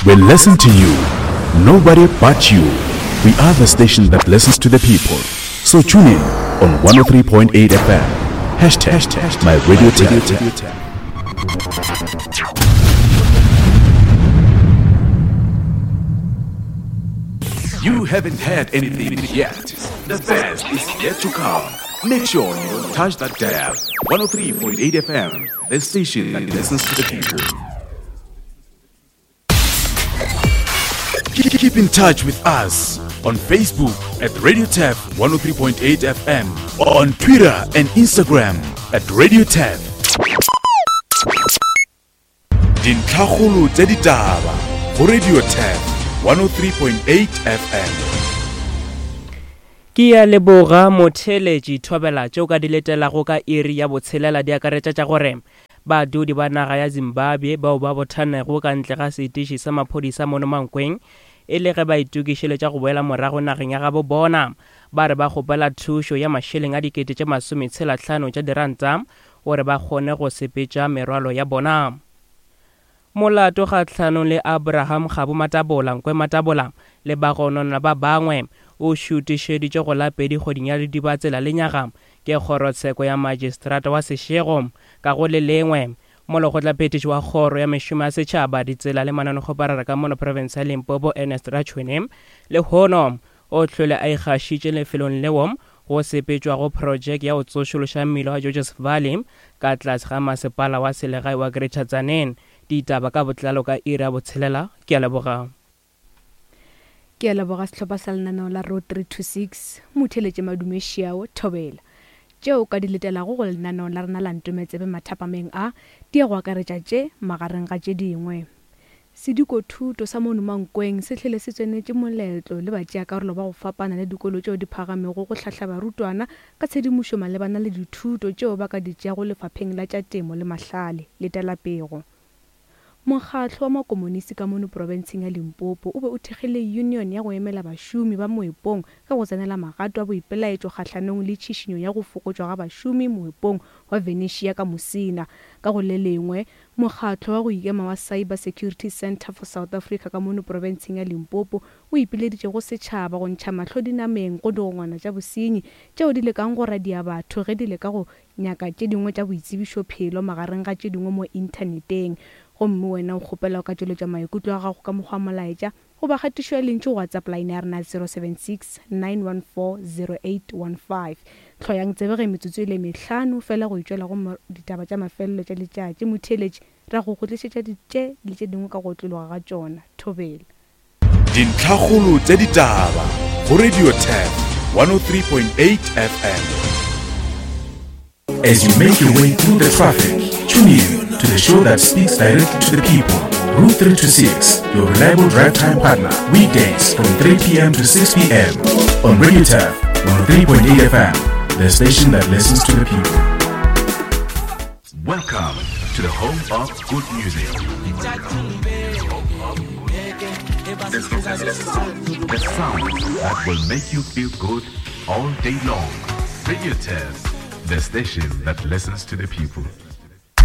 We listen to you. Nobody but you. We are the station that listens to the people. So tune in on 103.8 FM. Hashtag my radio tap. You haven't had anything yet. The best is yet to come. Make sure you don't touch that dial. 103.8 FM, the station that listens to the people. Keep in touch with us on Facebook at Radio Tap 103.8 FM, on Twitter and Instagram at Radio Tap. Dintlhakgolo tša ditaba go Radio Tap 103.8 FM. Ke ya leboga motheeletši thobela tše o ka di letelago ka iri ya botshelela di akaretša tša gore Badudi ba naga ya Zimbabwe bao ba bothanego ka ntle ga setiši sa maphodisa mono Mankweng e le ge ba itokišeletša go boela morago nageng ya gabo bona, ba re ba kgopela thušo ya mašeleng a dikete tše masometshela-hlano tša diranta gore ba kgone go sepetša merwalo ya bona. Molato kgahlanong le Abraham Kgabo Matabola, Nkwe Matabola le bagononwa ba bangwe o šutišeditšwe go la pedi kgweding ya Ledibatsela lenyaga ke kgorotsheko ya Magistrata wa Seshego. Ka go le lengwe, Molekgotlaphethiši wa Kgoro ya Mešomo ya Setšhaba, Ditsela le Mananekgoparara ka mono profense ya Limpopo Ernest Rachoene lehono o hlwele a ikgašitše lefelong leo go sepetšwago projeke ya go tsošološa mmila wa Georges Valley ka tlase ga masepala wa selegae wa Greater Tzaneen. Ditaba ka botlalo ka iri ya botshelela. Ke a leboga. Ke a leboga sehlopha sa lenaneo la Road 326, Motheeletše Madume Šiao, Thobela. Tšeo o ka di letelago go lenaneo la rena la Ntometsebe mathapameng a, di ya go akaretša tše, magareng ga tše dingwe. Sedikothuto sa mono Mankweng se hlwele se tsenetše moletlo le batšeakarolo ba go fapana le dikolo tšeo di phagamego go hlahla barutwana ka tshedimošo malebana le dithuto tšeo ba ka di tšeago lefapheng la tša temo le mahlale. Letela pego. Mokgatlo wa Makomonisi ka mono profenseng ya Limpopo o be o thekgile union ya go emela bašomi ba moepong ka go tsenela magato a boipelaetšo kgahlanong le tšhišinyo ya go fokotšwa ga bašomi moepong wa Venetia ka Musina. Ka go le lengwe, mokgatlo wa go ikema wa Cyber Security Centre for South Africa ka mono profenseng ya Limpopo o ipileditše go setšhaba go ntšha mahlo dinameng go digongwana tša bosenyi tšeo di lekang go radia batho ge di leka go Nyaka tše dingwe tša boitsebišophelo magareng ga tše dingwe mo inthaneteng. Gomme wena o kgopela o ka tšweletša maikutlo a gago ka mokgwa wa molaetša goba kgatišo ya lentšu go WhatsApp line ya rena 076 914 0815. Hloyang tsebe ge metsotso e le mehlano fela go itšwela go ditaba tša mafelelo tša letšatši. Motheeletši, ra go go tlišetša tše le tše dingwe ka go otlologa ga tšona. Thobela. Dintlhakgolo tša ditaba go Radio Turf 103.8 FM. As you make your way through the traffic, tune in to the show that speaks directly to the people. Route 326, your reliable drive time partner, weekdays from 3 p.m. to 6 p.m. on Radio Turf 103.8 FM, the station that listens to the people. Welcome to the home of good music. The sound that will make you feel good all day long. Radio Test, the station that listens to the people.